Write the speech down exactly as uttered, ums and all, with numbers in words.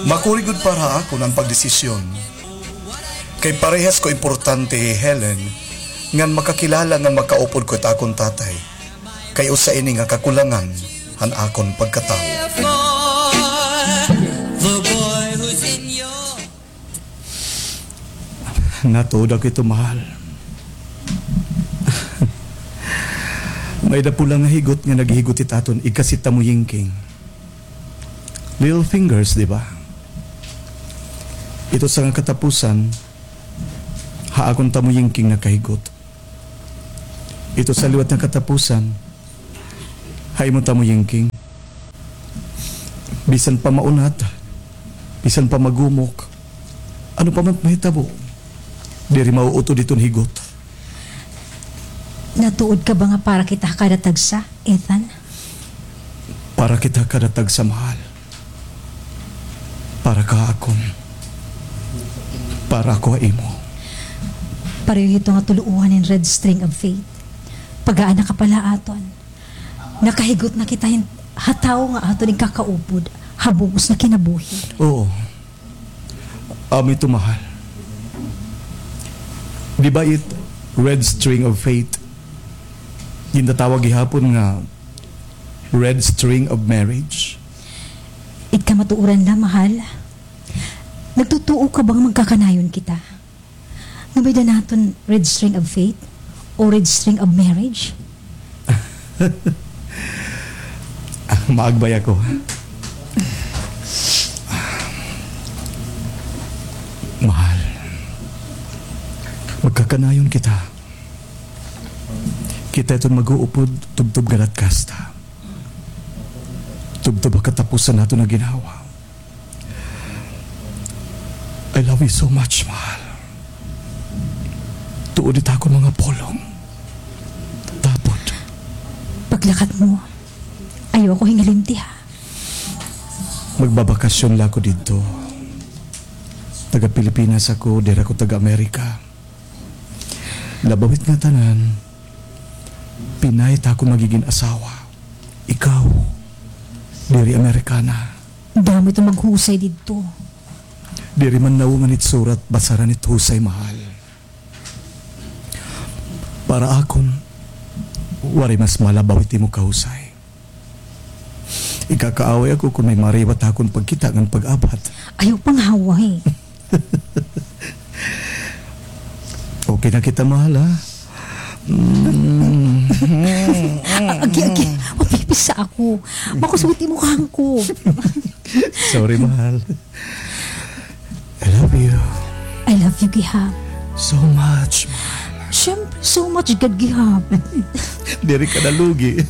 Makuri gud para ha akon an pagdesisyon. Kay parehas ko importante hi Helen, ngan makakilala ngan makaupod ko it akon tatay. Kay usa ini nga kakulangan han akon pagkatawo. Natuod ako hito, mahal. May dapulan nga higot nga naghihigot hit aton igkasi it tamuyingking. Little fingers, di ba? Ito sa nga katapusan, ha akon tamuyingking nakahigot. Ito sa liwat nga katapusan, ha imo tamuyingking. Bisan pa maunat, bisan pa magumok, ano pa man mahitabo, diri mauutod iton higot. Natuod ka ba nga para kita ha kada tagsa, Ethan? Para kita ha kada tagsa, mahal. Para ka ha akon. Para ako ha imo. Pareho hito nga tuluohan hin Red String of Fate. Pag-aana ka pa la ha aton. Nakahigot na kita hin, ha tawo nga aton igkakaupod ha bug-os nga kinabuhi. Oo. Amo ito, mahal. Di ba it Red String of Fate? Gintatawag gihapon nga Red String of Marriage? It kamatuoran la, mahal. Nagtutuo ka ba nga magkakanayon kita? Nga may-ada naton Red String of Fate o Red String of Marriage? Ah, maagbay ako. Mahal, magkakanayon kita. Kita iton mag-uupod tubtob ngada it kasta. Tubtob ha katapusan naton nga ginhawa. I love you so much, mahal. Tuod it akon mga pulong. Tapod. Paglakat mo, ayaw ako hingalimti, ha? Magbabakasyon la ako didto. Taga-Pilipinas ako, diri ako taga-Amerika. Labaw hit ngatanan, Pinay it akon magigin asawa. Ikaw, diri Amerikana. Damo iton maghusay didto. Diri man nawong an itsura, basaran it husay, mahal. Para akon, waray mas malabaw it imo kahusay. Ikakaaway ako kon may mariwat ha akon pagkita ngan pag-abat. Ayaw pangaway. Okay na kita, mahal, ha? Mm. Agi, agi. Mapipisa ako. Makusog it imo kahangkop. Sorry, mahal. I love you. I love you, gihap. So much, mahal. Siyempre, so much gad, gihap. Diri ka nalugi.